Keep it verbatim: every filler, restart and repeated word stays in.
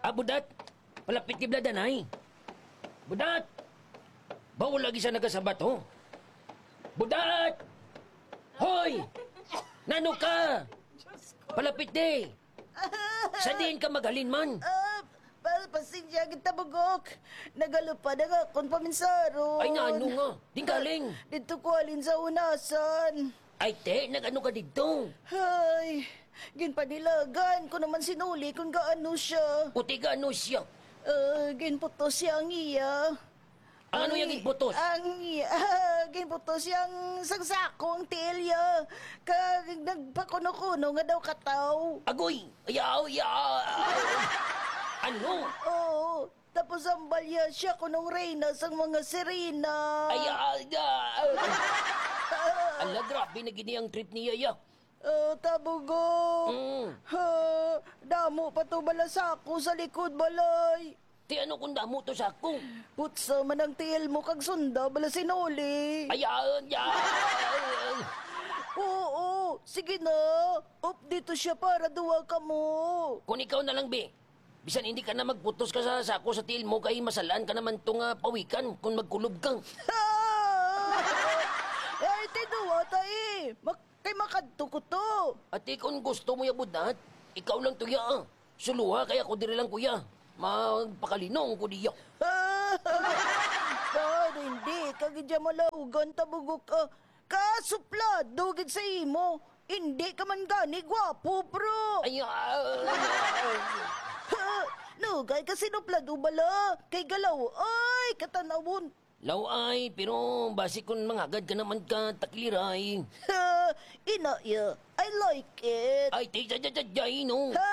Ah, Budat! Palapit ni Bladanay! Budat! Ba wala gid siya nagasabat, ho? Budat! Hoy! Nano ka? Palapit di! Sa diin ka maghalin man? Ah, pa-, pasensya kita, Bugok. Nagalupad ang akon paminsaron. Ay, nano nga? Diin ka halin? Didto ko halin sa hunasan. Ay, te, nag-ano ka didto? Ay, ginpanilagan ko naman sinuli kung gaano siya. Uti gaano siya? Ah, ginputos siya ang iya. Ang ano Ang yang i-, ginputos? Ang i-, ah, ginputos yang sang sako ang tiil ya. Kag nagpakuno-kuno nga daw kataw. Agoy! Ayaw, ayaw! Ano? Oo. Tapos ang balya siya kunong reyna sang mga sirena. Ay, ah, ah. Ala, grabe na gini ang trip niya, ya. Ah, Tabugo. Mm. Ha, damo pa to bala sako sa likod balay. Ti ano kung damo to sako? Putsa man ang tiil mo kag sunda bala sinuli. Ay, ah, ah. Oo, sige na. Update to siya para duwa kamo. Kung ikaw na lang, be. Bisan hindi ka na magputos ka sa sako sa tiil mo, kay masalaan ka naman to nga pawikan kung magkulob ka. Ay, tinuwa ta eh. Mak-, kay makadto ko to. Ati, kung gusto mo ya, Budat, ikaw lang to ya, ah. Suluha kay ako diri lang, kuya. Magpakalinong ko diya. Pero hindi ka gid ya malaugan, Tabugok, ah. Kasuplado gid sa imo. Hindi ka man gani gwapo, bro. Ay, ah, Ha? Nugay ka sinuplado bala. Kay galaw, ay, katanawon. Laway, pero basi kung mangagad ka naman ka takliray. Ha? Ina, ya. I like it. Ay, ti, ti, ti, ti, ti, no. Ha?